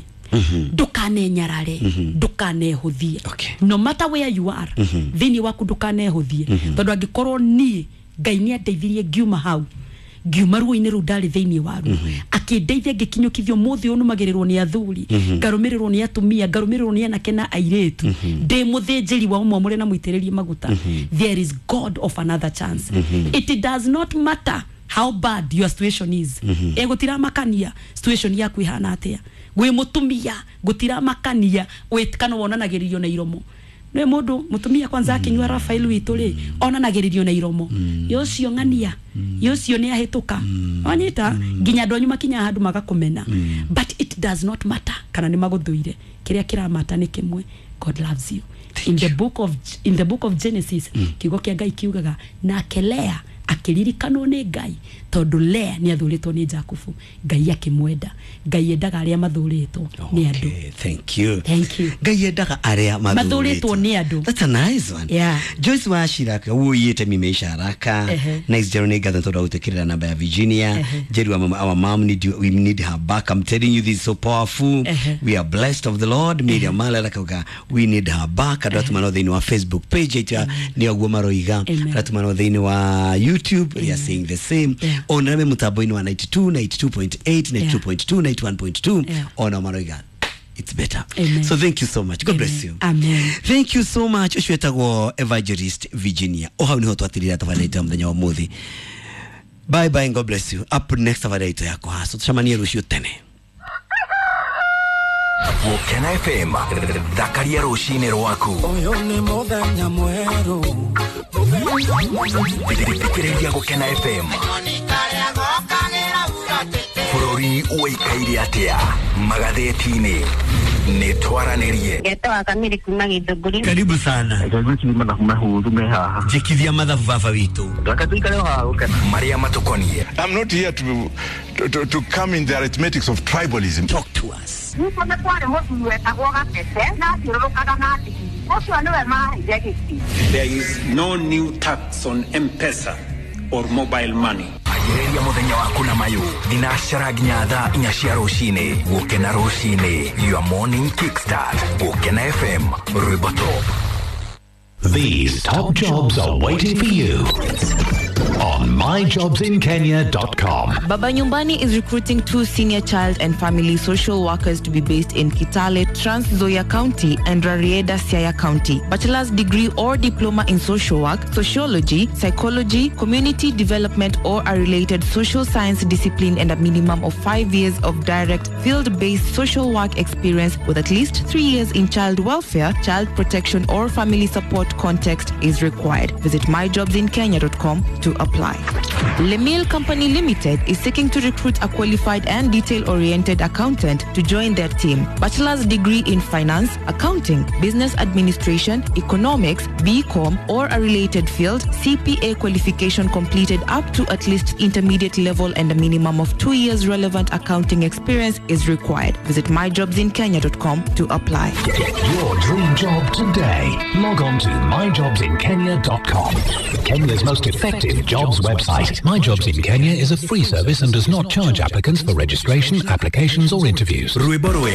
Speaker 1: ndũkanenyarare, ndũkanehũthie.
Speaker 2: Okay.
Speaker 1: No matter where you are, thĩinĩ waku ndũkanehũthie, tondũ angĩkorwo niĩ Ngai nĩ andeithirie ngiuma hau, ngiuma ruo-inĩ rũu ndarĩ thĩinĩ waruo, akĩndeithia ngĩkinyũkithio, mũthĩ ũyũ nũmagĩrĩrwo nĩ athuri, ngarũmĩrĩrwo nĩ atumia, ngarũmĩrĩrwo nĩ anake na airĩtu, ndĩ mũthĩnjĩri wa ũmwe na mũitĩrĩrie maguta. There is God of another chance. It does not matter how bad your situation is. E gũtiramakania situation yaku ihana atĩa gwĩ mũtumia, gũtiramakania wĩ kana wonanagĩrĩrio na iromo nĩ mũndũ mũtumia kwanza akinyua Rafael witũ rĩ, onanagĩrĩrio na iromo yocio ng'ania yocio nĩ ahĩtũka wanyita nginya andũ anyu makinya handũ magakũmena, but it does not matter kana nĩ magũthũire, kĩrĩa kĩramata nĩ kĩmwe: God loves you. In the book of Genesis, kiugo kĩa Ngai kiugaga nake Lea akĩririkanwo nĩ Ngai, tondũ Lea nĩ athũrĩtwo nĩ Jakubu, Ngai akĩmwenda. Ngai endaga arĩa mathũrĩtwo nĩ andũ.
Speaker 2: Okay, thank you.
Speaker 1: Thank you.
Speaker 2: Ngai endaga arĩa
Speaker 1: mathũrĩtwo nĩ andũ.
Speaker 2: That's a nice one.
Speaker 1: Yeah.
Speaker 2: Joyce Washiraka wuiyite mimeisha haraka.
Speaker 1: Ehe.
Speaker 2: Nice Jero, nĩ ngatho tondũ wa gũtwĩkĩrĩra namba ya Virginia.
Speaker 1: Ehe.
Speaker 2: Jeru, our mom need you, we need her back. I'm telling you, this is so powerful.
Speaker 1: Ehe.
Speaker 2: We are blessed of the Lord. Miriam Mala akauga we need her back. Andũ atũmanwo thĩinĩ wa Facebook page itũ nĩ oguo maroiga.
Speaker 1: Amen.
Speaker 2: Andũ atũmanwo thĩinĩ wa YouTube, they are saying the same.
Speaker 1: Yeah.
Speaker 2: Ona me mũtambo-inĩ wa 92, 92.8, 92.2, 91.2,
Speaker 1: Yeah.
Speaker 2: ona maroiga it's better.
Speaker 1: Amen.
Speaker 2: So thank you so much. God bless
Speaker 1: Amen.
Speaker 2: you.
Speaker 1: Amen.
Speaker 2: Thank you so much. Ũcio wetagwo Evangelist Virginia. O hau niho twatirira tabarĩra itũ ya mũthenya wa ũmũthĩ. Bye bye and God bless you. Up next, tabarĩra itũ ya kũhaco. Tũcemanie rũciũ tene.
Speaker 4: Gũkena FM, thakaria rũcinĩ rwaku.
Speaker 5: Ũyũ nĩ mũthenya mwerũ.
Speaker 4: Thikĩrĩria Gũkena FM. Bũrũri ũikaire atĩa magathĩti-inĩ? Nĩ twaranĩrie.
Speaker 6: Ngetoa Kamiri kuma Githũngũri.
Speaker 2: Karibu sana.
Speaker 7: Ngwĩciria mathabu mahũthũ me haha.
Speaker 2: Njĩkithia mathabu baba witũ.
Speaker 7: Reke tũikare o haha gũkena.
Speaker 4: Marĩa matũkoniĩ.
Speaker 8: I'm not here to come in the arithmetics of tribalism.
Speaker 2: Talk to us.
Speaker 6: Gwitũ nĩ kwarĩ mũthuri wetagwo Gatete na athiũrũrũkaga na ndigiri. Ũcio nĩwe maheire gĩtĩ.
Speaker 9: There is no new tax on M-Pesa or mobile money.
Speaker 4: Anjĩrĩria mũthenya waku na mayũ thinacara nginya thaa 4 cia rũcinĩ. Gũkena rũcinĩ, your morning kickstart. Gũkena FM, rwĩmbo top.
Speaker 10: These top jobs are waiting for you on myjobsinkenya.com.
Speaker 11: Baba Nyumbani is recruiting 2 senior child and family social workers to be based in Kitale, Trans Nzoia County and Rarieda, Siaya County. Bachelor's degree or diploma in social work, sociology, psychology, community development or a related social science discipline, and a minimum of 5 years of direct field-based social work experience with at least 3 years in child welfare, child protection or family support context is required. Visit myjobsinkenya.com to apply. Lemil Company Limited is seeking to recruit a qualified and detail-oriented accountant to join their team. Bachelor's degree in finance, accounting, business administration, economics, BCom, or a related field, CPA qualification completed up to at least intermediate level and a minimum of 2 years relevant accounting experience is required. Visit myjobsinkenya.com to apply.
Speaker 10: Get your dream job today. Log on to myjobsinkenya.com. Kenya's most effective jobs website. My Jobs in Kenya is a free service and does not charge applicants for registration, applications or interviews.
Speaker 4: Rwĩmbo rwega.